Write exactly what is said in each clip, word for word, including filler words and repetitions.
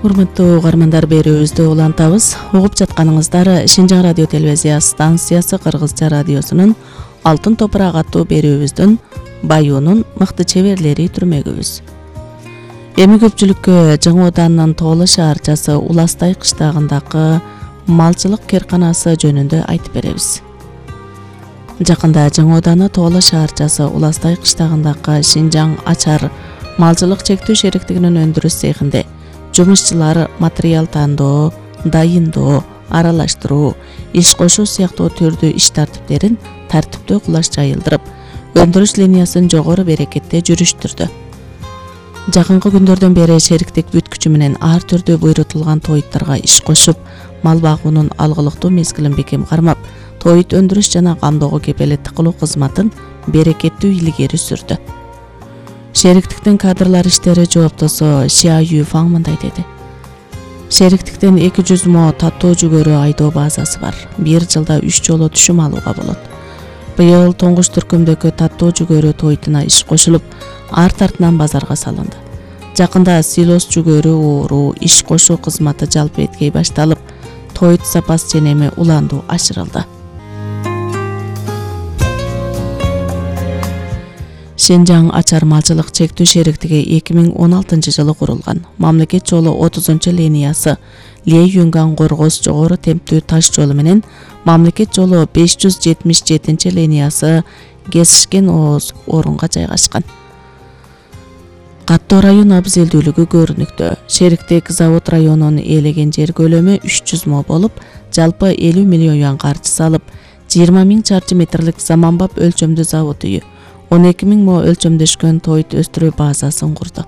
Урматтуу угармандар, берүүбүздү улантабыз. Угуп жатканыңыздар Шинжаң радио телевизия станциясы Кыргызча радиосунун Алтын топурак аттуу берүүбүздүн Баюунун мыкты чеберлери түрмөгүбүз. Эми көпчүлүккө Жаңы Оданынын Тооло шаарчасы Уластай кыштагындагы малчылык керканасы жөнүндө айтып беребиз. Жакында Жаңы Оданы Тооло шаарчасы Уластай кыштагындагы Шинжаң ачар малчылык чектүү шериктигинин өндүрүш цехинде жумушчулар материал тандоо, дайындоо, аралаштыруу, иш кошуу сыяктуу түрдүү иш тартиптерин тартиптүү кулаш жайылдырып, өндүрүш линиясын жогору берекетте жүрүштүрдү. Жакынкы күндөрдөн бери шериктик бүткүчү менен ар түрдүү буйрутулган тоюттарга иш кошуп, мал багуунун алгылыктуу мезгилин бекем кармап, тоют өндүрүш жана камдоого кепелеттик кылуу кызматын берекеттүү илгери сүрдү. Шериктиктин кадрлар иштери жооптосу Xia Yufang мындай деди. Шериктиктин эки жүз мо таттоо жүгөрү айдоо базасы бар. Бир жылда үч жолу түшүм алууга болот. Быйыл тоңгуч түркүмдөгү таттоо жүгөрү тойтуна иш кошулуп, арт артынан базарга салынды. Жакында силос жүгөрү ооруу иш кошуу кызматы жалпы эткей башталып, тоют запас ченеми уланду ашырылды. Шинжаң ачар малчылык чектүү шериктиги эки миң он алтынчы жылы курулган. Мамлекет жолу отузунчу линиясы Лей-Юнган Горгос жогору темптүү таш жолу менен мамлекет жолу беш жүз жетимиш жетинчи линиясы Гесишкен Ооз орунга жайгашкан. Каттоо район абзелдүүлүгү көрүнүктүү. Шериктик завод районун ээлеген жер көлөмү үч жүз мо болуп, жалпы элүү миллион юан каржы салып, жыйырма миң чарчы метрлик заманбап өлчөмдүү завод үйү, он эки миң мо өлчөмдөшкөн тоют өстүрүү базасын курду.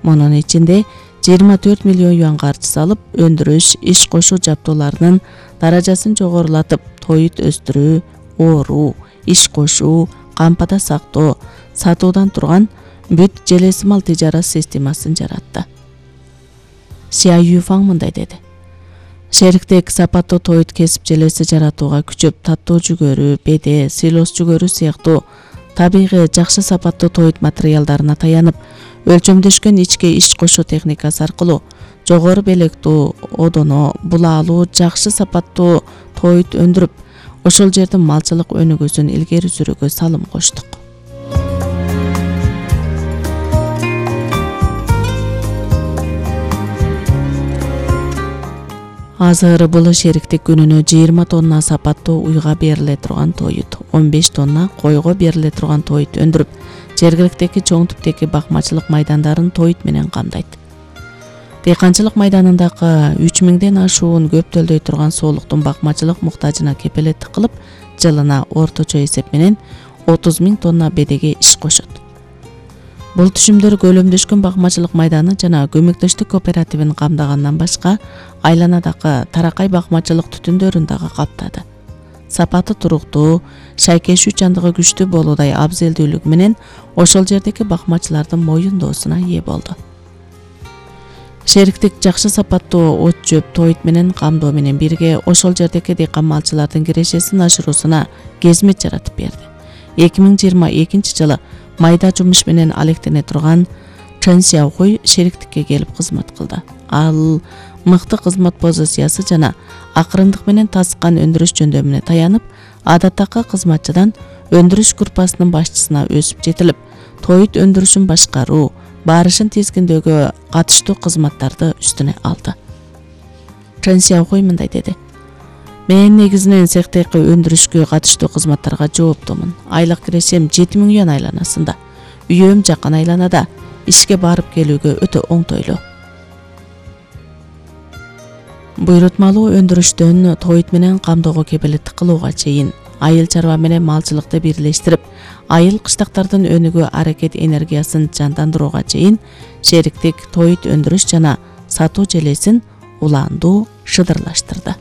Мунун ичинде жыйырма төрт миллион юан каржы салып, өндүрүш, иш кошуу жабдууларынын даражасын жогорулатып, тоют өстүрүү, ооруу, иш кошуу, кампада сактоо, сатуудан турган бүт желесимал тижарат системасын жаратты. Xia Yufang мындай деди. Шериктик сапаттуу тоют кесип желеси жаратууга күчөп, таттоо жүгөрү, беде, силос жүгөрү сыяктуу табигый жакшы сапаттуу тоют материалдарына таянып, өлчөмдөшкөн ичке иш кошуу техникасы аркылуу жогору белектүү, одоно, булаалуу, жакшы сапаттуу тоют өндүрүп, ошол жердин малчылык өнүгүүсүн илгери сүрүүгө салым коштук. Азыр бул шериктик күнүнө жыйырма тонна сапаттуу уйга бериле турган тоют, он беш тонна койго бериле турган тоют өндүрүп, жергиликтеги чоң типтеги бакмачылык майдандарын тоют менен камдайт. Дыйканчылык майданындагы үч миңден ашуун көптөлдөй турган соолуктун бакмачылык муктажына кепелеттик кылып, жылына орточо эсеп менен отуз миң тонна бедеге иш кошот. Бул түшүмдөр көлөмдөшкөн бакмачылык майданы жана көмөктөштүк кооперативин камдагандан башка, айланадагы таракай бакмачылык түтүндөрүн дагы каптады. Сапаты туруктуу, шайкешүү чандыгы күчтүү болуудай абзелдүүлүгү менен ошол жердеги бакмачылардын моюндоосуна ээ болду. Шериктик жакшы сапаттуу от жөп тоют менен камдоо менен бирге ошол жердеги дыйкан малчылардын кирешесин ашыруусуна кезмет жаратып берди. эки миң жыйырма экинчи жылы майда жумуш менен алектене турган Чен Сяохуй шериктикке келип кызмат кылды. Ал мыкты кызмат позициясы жана акырындык менен тасыккан өндүрүш жөндөмүнө таянып, адаттагы кызматчыдан өндүрүш группасынын башчысына өсүп жетилип, тоют өндүрүшүн башкаруу, барышын тизгиндөөгө катыштуу кызматтарды үстүнө алды. Чен Сяохуй мындай деди. Мен негизинен цехтеги өндүрүшкө катыштуу кызматтарга жооптумун. Айлык кирешем жети миң юан айланасында. Үйөм жакын айланада, ишке барып келүүгө өтө оңтойлуу. Буйрутмалуу өндүрүштөн тоют менен камдоого кепелеттик кылууга чейин, айыл чарба менен малчылыкты бирлештирип, айыл кыштактардын өнүгүү аракет энергиясын жандандырууга чейин шериктик тоют өндүрүш жана сатуу желесин улаандуу шыдырлаштырды.